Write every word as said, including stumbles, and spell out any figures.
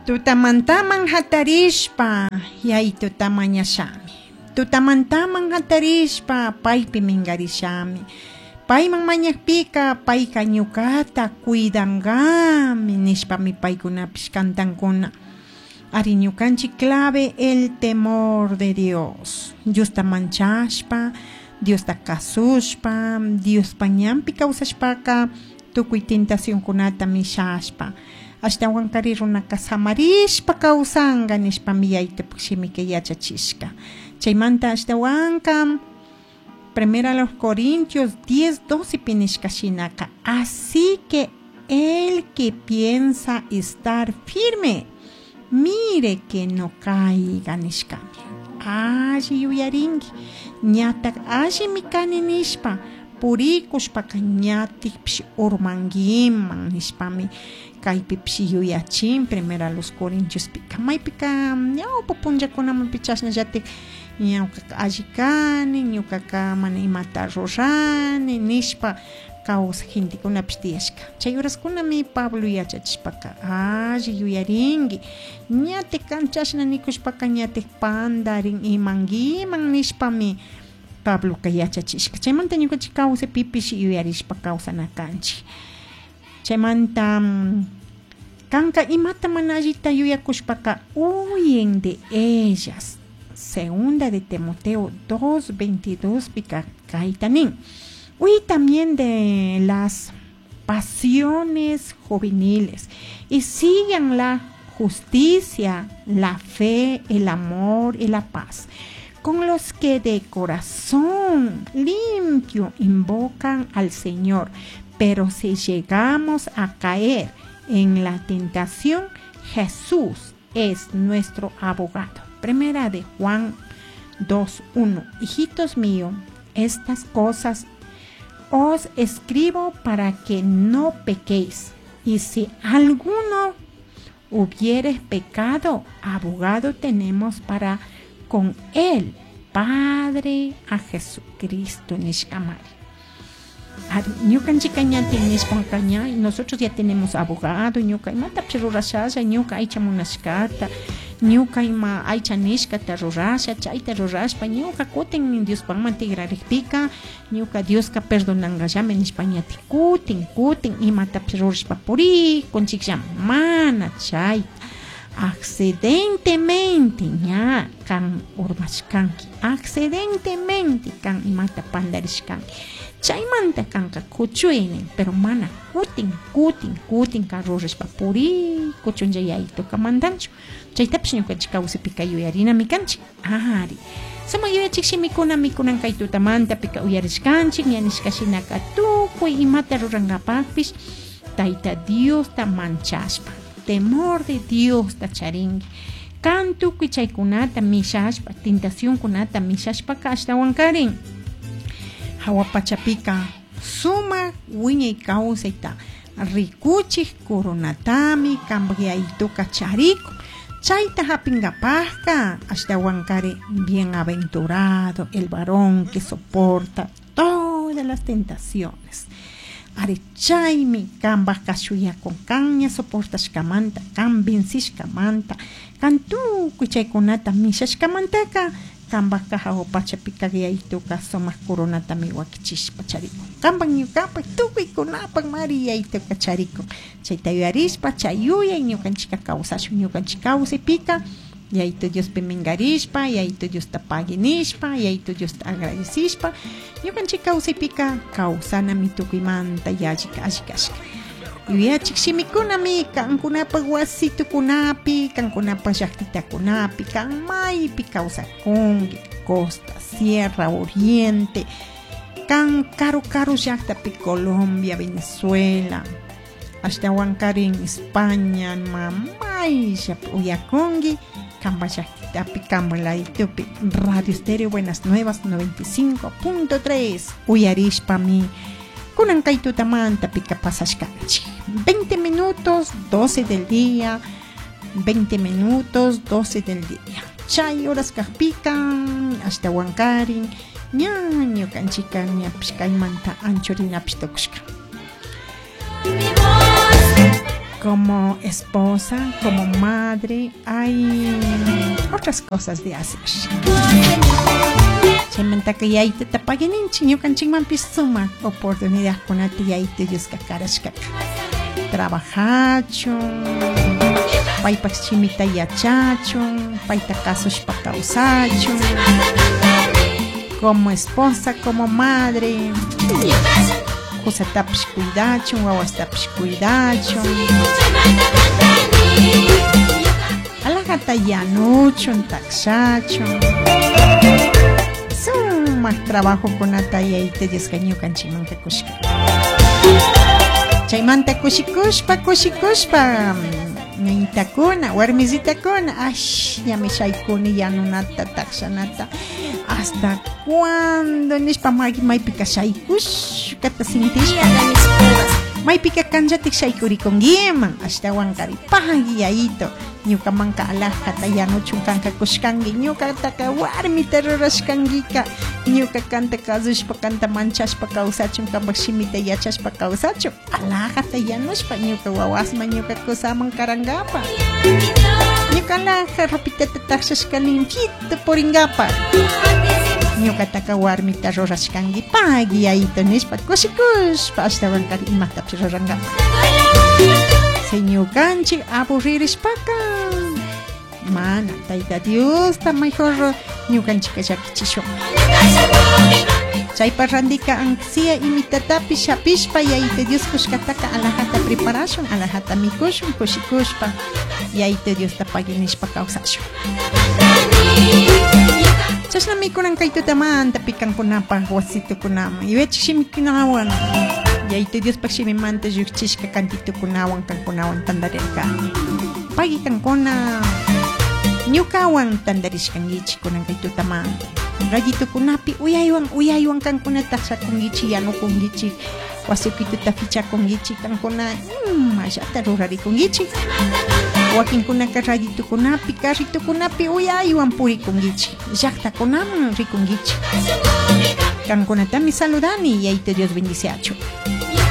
Tutamantaman hatarishpa yaytuta mañashami. Tutamantaman hatarishpa paypi mingarishami. Payman mañakpika payka ñukata cuidangami nishpami paykunapish kantankuna. Ari ñukanchik clave el temor de Dios. Diosta manchashpa, Diosta kasushpa, Diospa ñanpi kawsashpaka tukuy tentacionkunata mishashpa. Ashtawankari runaka samarishpa kawsanka nishpami yaytupak shimika yachachishka. Chaymanta ashtawanka Primera los Corintios diez doce pinishka shinaka. Así que el que piensa estar firme, mire que no caiga nishkami. Alli yuyarinki, ñatak allimi kani nishpa, purikushpaka ñatikpish urmankiman nishpami kaypipish yuyachin Primera los Corintios pika. Maypika ñawpa punllakunamanpi chashnallatik ñawkaka alli kani, ñukaka mana imata rurani nishpa kawsaj gentekunapish tiyashka. Chay horaskunami Pablo yachachishpaka alli yuyarinki, ñatik kan chashna nikushpaka ñatik pandarin imankiman nishpami Pabloka yachachishka. Chaymanta ñukanchik kawsaypipish yuyarishpa kawsana kanchik. Chaymanta kanka imata mana allita yuyakushpaka huyen de ellas. Segunda de Timoteo dos veintidós pika kayta nin. Huye también de las pasiones juveniles y sigan la justicia, la fe, el amor y la paz, con los que de corazón limpio invocan al Señor. Pero si llegamos a caer en la tentación, Jesús es nuestro abogado. Primera de Juan dos uno. Hijitos míos, estas cosas os escribo para que no pequéis. Y si alguno hubiere pecado, abogado tenemos para con él, Padre, a Jesucristo nishkamari. Ñukanchika ña nishpanka ña, nosotros ya tenemos abogado, ñuka imatapish rurashalla, ñuka aycha munashkata, ñuka ima aycha nishkata rurasha, chayta rurashpa, ñuka kutin Diospakman tigrarikpika, ñuka Dioska perdonankallami nishpa ñati kutin, kutin imatapish rurashpa purikunchikllami, mana chayta. Accidentemente ña kan urmashkanki, accidentemente kan imata pandarishkanki. Chaymanta kanka kuchuynin, pero mana kutin, kutin, kutin kan rurashpa purikuchunlla yayituka mandanchu. Chaytapish ñukanchik kawsaypika yuyarinami kanchik. Ari. Sumak yuyachik shimikuna mikunan kay tutamanta pika uyarishkanchik, ña nishka shinaka tukuy imata rurankapakpish Tayta Diosta manchashpa, temor de Diosta charinki. Kan tukuy chaykunata mishashpa, tentacionkunata mishashpaka ashtawankarin hawa pachapika sumak wiñay kawsayta rikuchik coronatami kanpak yayituka charikun. Chayta hapinkapakka ashtawankari bienaventurado el varón que soporta todas las tentaciones. Ari chaymi kanpak kashuyakun, kan ña soportashkamanta, kan vencishkamanta, kan tukuy chaykunata mishashkamantaka kanpakka hawa pachapika yayituka sumak coronatami wakichishpa charikun. Kanpak ñukapak tukuykunapak mari yayituka charikun. Chayta yuyarishpa, chay yuyay ñukanchika kawsashun, ñukanchik kawsaypika Yayitu Diospi mingarishpa, Yayitu Diosta paginishpa, Yayitu Diosta agradecishpa, ñukanchik kawsaypika kawsanami tukuymanta yallika alli kashka. Yuyachik shimikunami kankunapak wasitukunapi, kankunapak llaktitakunapi, kan maypi kawsakunki, costa, sierra, oriente, kan karu karu llaktapi, Colombia, Venezuela, ashtawankarin España, mamayllapi uyakunki, kanpa llaktitapi, kanpa laditupi, Radio Estéreo Buenas Nuevas noventa y cinco punto tres, uyarishpami kunan kay tutamanta pika pasashkanchik. veinte minutos, doce del día, veinte minutos, doce del día. Chay horas kajpika, ashtawankarin, ña ñukanchika ñapish kaymanta anchurinapish tukushka. Como esposa, como madre, hay otras cosas de hacer. Chaymantaka yaytata paguininchik ñukanchikmanpish sumak oportunidadkunata yayta Dioska karashkaka. Trabajachun, paypak shimita yachachun, payta kasushpa kawsachun. Como esposa, como madre, kusatapish cuidachun, wawastapish cuidachun. Alajata yanuchun, takshachun. Sumak trabajokunata yayta Dioska ñukanchikmanka kushka. Chaymanta kushikushpa, kushikushpa, ñañitakuna, warmisitakuna, ash, ñami shaykuni yanunata, takshanata. Hasta cuando nishpa maypika shaykushkata sintishpa. Maypika kanllatik shaykurikunkiman, ashtawankari pagui yayito. Ñukamanka alajata yanuchun kanka kushkanki, ñukataka warmita rurashkankika, ñuka kanta kasushpa, kanta manchashpa kawsachun, kanpak shimita yachashpa kawsachun, alajata yanushpa ñuka wawasman, ñuka kusaman karankapa. Ñuka alaja ropitata takshashka limpito purinkapa. Ñukataka warmita rurashkanki, pagui yayito nishpa kushikushpa ashtawankari imatapish rurankapa. Ñukanchik aburririshpaka mana Tayta Diosta mejor ñukanchika llakichishun. Chaypa randika ansia imitatapish hapishpa yayta Dios kushkataka alajata preparashun, alajata mikushun, kushikushpa yayta Diosta paguinishpa kawsashun. Chashna mikunan kay tutamanta pikankunapaj wasitukunaman yuyachik shimikunawan yayta Diospaj shimimanta lluqchishka kantitukunawan kankunawan tantarirkani. Pagui kankuna ñukawan tantarishkankichik kunan kay tutamanta. Rayitukunapi uyaywan uyaywan kankuna taqshakunkichik, yanukunkichik, wasukituta fichakunkichik, kankuna imallata rurarikunkichik. Wakinkunaka rayitukunapi, carritukunapi uyaywan purikunkichik, llaqtakunaman rikunkichik. Kankunatami saludani, yayta Dios bendiciachu.